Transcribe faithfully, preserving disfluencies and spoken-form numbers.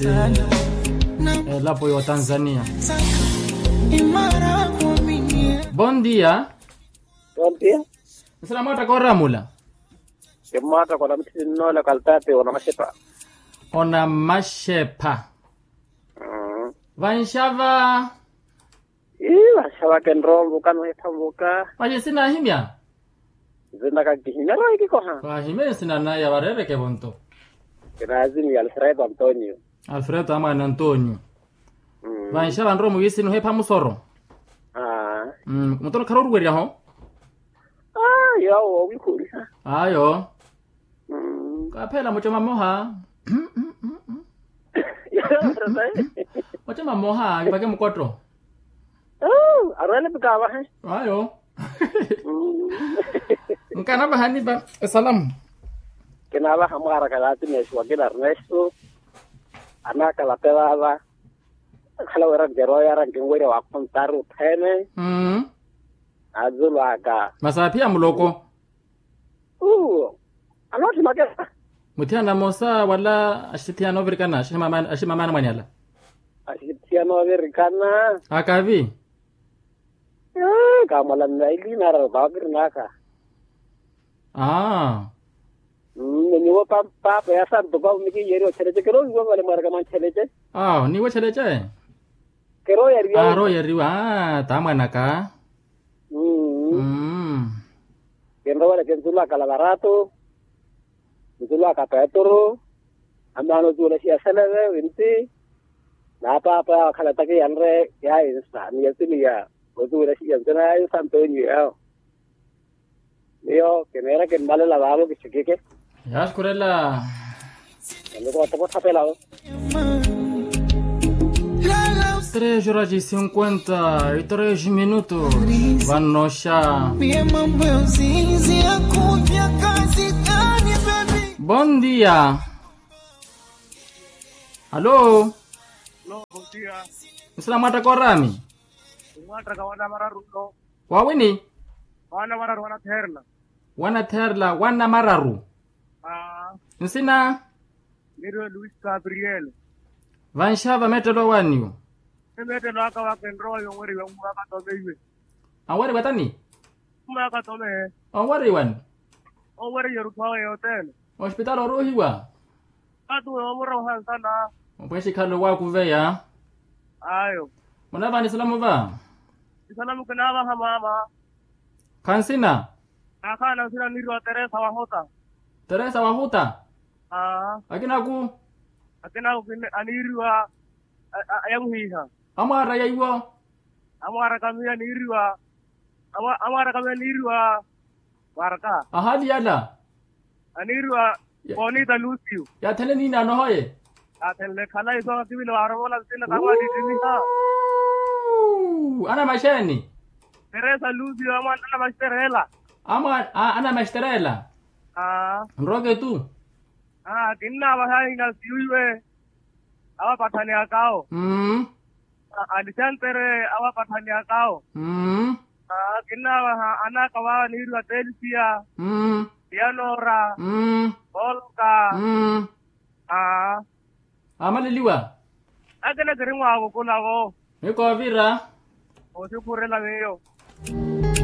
Elapo y'otanzania. Bon dia. Bon dia. Nsina mwaattaka oramula? Kimmwaattaka onamutthitinnoole kaltaati onamaxepha. Onamaxepha. Vanxava. Ii vanxava kinrowa onvuka nohipha onvuka. Vaxi sinahimya. Nzinaka nkihimya rowa ekikoha. Vahimye nsina naya vareereke vonto. Kinaazimiya alfredo antonio. Alfredo amwaana antonio. Vanxava nrowa muwiisini ohepha musoro. Mutoro khara oruweryaho. Ayo awo owihuliha. Ayo. Kaphela mucoma mmoha. Mucoma mmoha kipake mukotto. Arwele pikavahe. Ayo. Nkanavaha nipa esalamu. Kinavaha mwaraka yaatimexiwa kina ernesto. Anakalape vava. Akhala wira nkeroyara nkinwerya wakhontaru thene. Azulu aka. Masi aphiya muloko. Uwo. Anoothi makela. Muthiyana moosa wala axithiyana ovirikana aximamana mwanyala. Axithiyana ovirikana. Akavi. Kamwala nnaili nara vakirinaka. Aa. Niniwo paapa ya santo paume kiiyeriwa otheleche kero wiwa vale mwaraka mwantheleche. Awo niwo theleche. Keroyariwa. Aroyariwa. Aa tamwanaka. Kinroweleke nzulu aka lavarato. Nzulu aka petru. Amaana ozuwela xiyaseleve winti. Naapaapa yawe akhala takiyanre yainsa ni yasimiya ozuwela xiyansena yainsa antonio yawo. Miyo kineera kimmalela vaavo kixikike. Yaaxukhurela. Niko ottoko othapelavo. Tres horas e cinquenta e tres minutos. Vanoxa. Bon dia. Alo. Nsina mwattaka orami? Mwattaka wana mararu. Wawini? Wana mararu wana therla. Wana therla wana mararu. Nsina? Niriwe luis gabriel. Vanxava mettelo waniwo? Emettelo aka wakenrowa yonweriwa mumaka tomeiwe. Anweriwa tani? Mumaka tome. Onweriwani? Onweriwa erutthu awe yothene. Ospitali oruuhiwa? Atu omura ohansana. Opwexikhalo wakuveya. Ayo. Munavani salamu va? Isalamu kinavaha mama. Khansina? Akhaana nsina aniriwa teresa wahuta. Teresa wahuta? Aa. Akinaku? Akinaku aniriwa. Ayamuhiha. Amwaara yaiwo? Amwaara kamiya aniriwa. Amwaara kamiya aniriwa. Mwaraka ahali yala. Aniriwa. Bonita lucio. Yathenle niinaano hoye. Athenle khala iso akivile waaromola nsina tamwalittimiha. Anamaxeeni? Teresa lucio amwa anamaxiterela. Amwa anamaxiterela. Nroke tu. Kinnavaha inasiyo iwe. Awapatthani akawo. Alexandere awapatthani akawo. Kinnavaha anaka vawa aniriwa telisia. Pianora. Polka. Aa. Amaleliwa. Akina kiri mwaavukulavo. Mikoovira. Oxukhurela miyo.